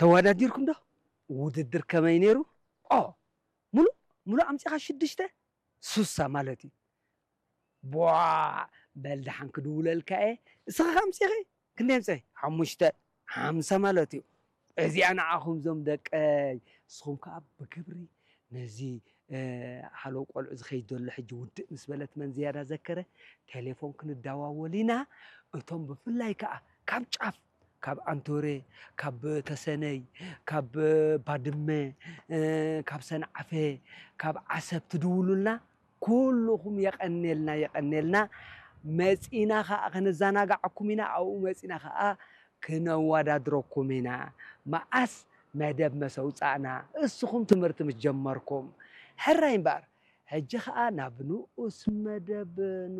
ተወዳዲርኩም ዶ? ውድድር ከመይ ነይሩ? ኦ፣ ሙሉእ፣ ሙሉእ ኣምጺኻ ሽዱሽተ? ሱሳ ማለት እዩ። ቧ፣ በል ደሓን ክድውለልካ እየ። እስኻ ከ ኣምጺኺ? ክንደይ ኣምጺኺ? ሓሙሽተ፣ ሓምሳ ማለት እዩ። እዚኣ ንዓኹም ዞም ደቀይ። ንስኹም ከኣ ብግብሪ ነዚ፣ እ፣ ሃለው ቆልዑ ዝኸይድ ዘሎ ሕጂ ውድእ ምስ በለት መን ዝያዳ ዘከረ፣ ቴሌፎን ክንደዋወል ኢና። እቶም ብፍላይ ከኣ ካብ ጫፍ፣ ካብ ኣንቶሬ፣ ካብ ተሰነይ፣ ካብ ባድመ፣ እ፣ ካብ ሰንዓፈ፣ ካብ ዓሰብ ትድውሉልና፣ ኩልኹም የቐኔልና፣ የቐኔልና። መጺና ኸኣ ከነዘናግዓኩም ኢና፣ ኣብኡ መጺና ኸኣ ክነወዳድረኩም ኢና። መኣስ መደብ መስ ኣውጻእና፣ እስኹም ትምህርቲ ምስ ጀመርኩም። ሕራይ እምበኣር፣ ሕጂ ኸኣ ናብ ንኡስ መደብ